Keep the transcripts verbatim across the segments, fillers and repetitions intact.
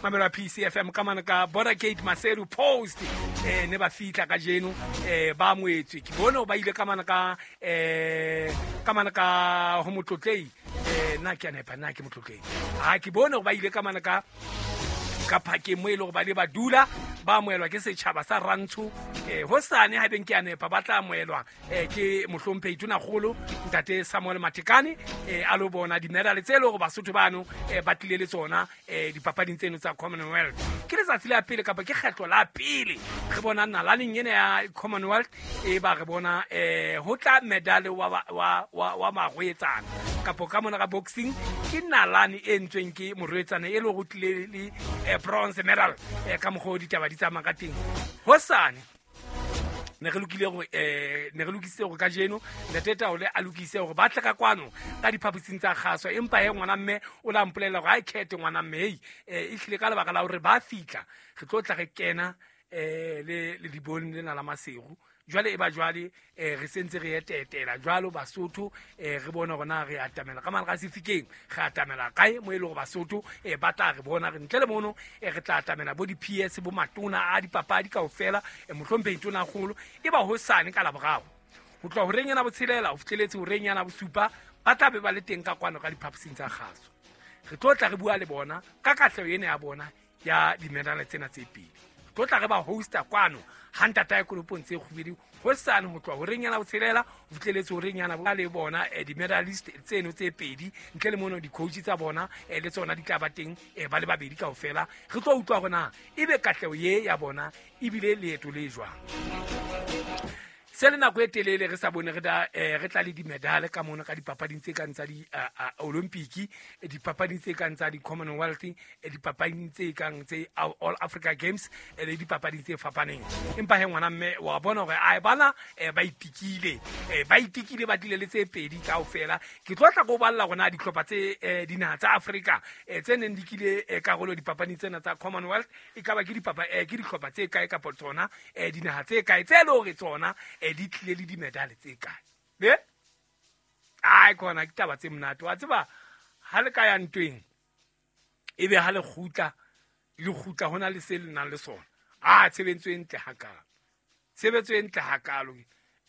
Mamelo P C F M ka mane ka Border Gate Maseru Post eh ne ba fitla ka jeno eh ba moetswe ke bone ba ile ka mane ka eh ka mane ka ho motlotlei eh na ke a nepa na ke motlotlei ha ke bone ba ile ka mane ka ka phakeng mo e le gore ba le ba dula ba amohelwa ke setjhaba sa Rantsho eh hosane ha beng ke a nepa ba tla amohelwa eh ke mohlomphehi Tonakgolo ntate Samuel Matekane eh a lo bona di-medal tse le hore Basotho bano eh ba tlile le tsona eh dipapading tseno tsa Commonwealth. Ke letsatsi la pele kapa ke kgetlo la pele re bona nalaneng ena ya Commonwealth e ba re bona eh ho tla medal wa wa wa, wa marwetsana kapo ka mona ka boxing ke nalane e ntsweng ke morwetsana e le go tlile le bronze medal eh ka mokgwa ditaba di tsamaya ka teng. Hosane ne re lokile gore eh ne re lokisitse gore kajeno ntate Taole a lokise gore ba tle ka kwano ka diphaposing tsa kgaso, empa he ngwana mme o la mpolelela gore ha e khethe ngwana mme hei e hlile ka lebaka la hore ba fitla re tlo tla re kena eh le le dibone lena la Maseru. Jwale e ba jwale eh re sentse re etetela jwalo Basotho eh re bona hore na re atamela ka mane ga sefikeng re atamela kae mo e le hore Basotho eh ba tla re bona re ntle le mono eh re tla atamela bo di P S bo matona a dipapadi kaofela eh mohlomphehi Tonakgolo e ba hosane ka Laboraro ho tloha horeng ena botshelela ho fihleletse horeng yana bosupa ba tla be ba le teng ka kwano ka diphaposing tsa kgaso. Re tlo tla re bua le bona ka katleho ena ya bona ya di-medal tsena tse pedi. Tlo tla re ba hosta kwano ha ntata ya kolopong tse kgubedi hosane ho tloha horeng yana botshelela ho fihleletse horeng yana ba le bona di-medalist tseno tse pedi ntle le mono di-coach tsa bona le tsona di tla ba teng ba le babedi kaofela. Re tlo utlwa hore na ebe katleho ye ya bona ebile leeto le jwang. Se le nako e telele re sa bone re da re tla le di-medal ka mona ka dipapading tse kang tsa di-Olympic, dipapading tse kang tsa di-Commonwealth, dipapading tse kang tse All Africa Games le dipapading tse fapaneng. Empa he ngwana mme wa bona hore ai bana ba itikile ba itikile ba tlile le tse pedi kaofela. Ke tlo tla go balla rona dihlopha tse dinaha tsa Afrika tse neng di kile karolo dipapading tsena tsa Commonwealth e ka ba ke dipapa ke dihlopha tse kae kapa tsona dinaha tse kae tse le hore tsona di tlile le di-medal tse kae. Be ai kona ke taba tse monate wa tseba ha le ka ya ntweng ebe ha le kgutla le kgutla hona le se le nang le sona. Ah tshebetso e ntle hakalo, tshebetso e ntle hakalo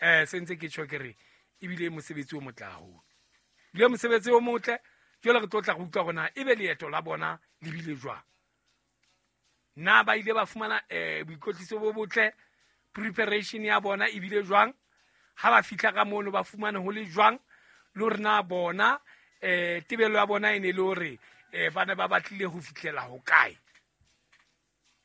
eh se ntse ke tjho ke re ebile mosebetsi o motle haholo, ebile mosebetsi o motle. Jwale re tlo tla go utlwa rona ebe leeto la bona le bile jwang, na ba ile ba fumana eh boikotliso bo botle, preparation ya bona ebile jwang, ha ba fihla ka mono ba fumane ho le jwang, le hore na bona eh tebelo ya bona e ne le hore eh ba ne ba batlile ho fihlela ho kae.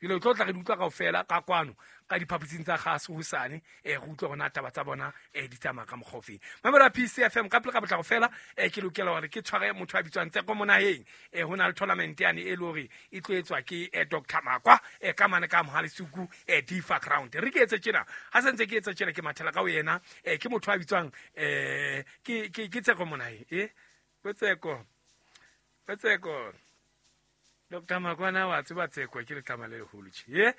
Dilo tlo tla re di utlwa kaofela ka kwano ka diphaposing tsa kgaso hosane eh re utlwa hona taba tsa bona eh di tsamaya ka mokgwa ofeng. Mamelo P C F M ka pele ka potlako fela eh ke lokela hore ke tshware motho a bitswang Tseko Monaheng eh hona le tournament yane e le hore e tlo etswa ke eh Doctor Makwa eh ka mane ka Mohalisuku eh Difa Ground. Re ke etse tjena ha se ntse ke etsa tjena ke mathela ka ho yena eh ke motho a bitswang eh ke ke ke Tseko Monaheng eh Tseko Tseko Doctor Makwana wa tseba Tseko ke letlama le leholo tje eh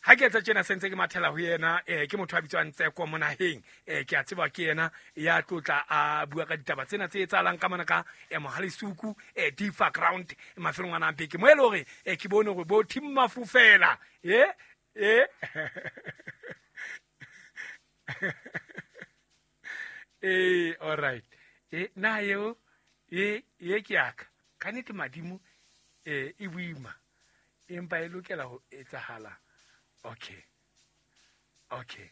ha ke etsa tjena sentse ke mathela ho yena eh ke motho a bitswang Tseko Monaheng eh ke a tseba ke yena ya tlotla a bua ka ditaba tsena tse etsahalang ka mona ka eh Mohalisuku eh Difa Ground mafelong ana a beke mo e le hore eh ke bone hore bo team Mafufela eh eh eh all right eh na eo e ye ke aka ka nnete madimo eh e boima empa e lokela ho etsahala. Okay okay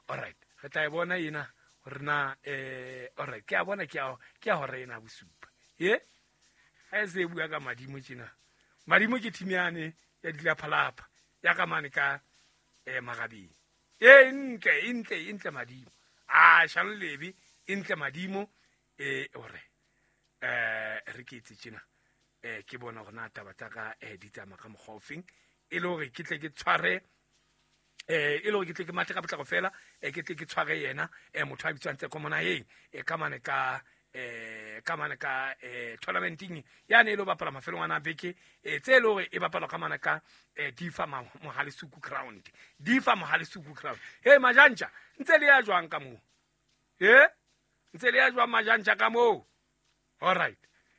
all right re tla e bona ena hore na eh all right ke a bona ke a ke a hore ena bosupa ye ha e se bua ka madimo tjena. Madimo ke team yane ya dilaphalapha ya ka mane ka eh Magabeng e ntle e ntle e ntle madimo a shalo lebe e ntle madimo eh ore eh re ke itse tjena eh ke bona hore na taba tsa ka eh di tsamaya ka mokgwa ofeng e le hore ke tle ke tshware eh e le hore ke tle ke mathe ka potlako fela eh ke tle ke tshware yena eh motho a bitswang Tseko Monaheng eh ka mane ka eh ka mane ka eh tournamenting ya ne e lo bapala mafelong ana beke eh tse le hore e bapala ka mane ka eh Difa Mohalisuku Ground Difa Mohalisuku Ground. Hey majantja ntse le ya jwang ka moo eh ntse le ya jwang majantja ka moo? All right.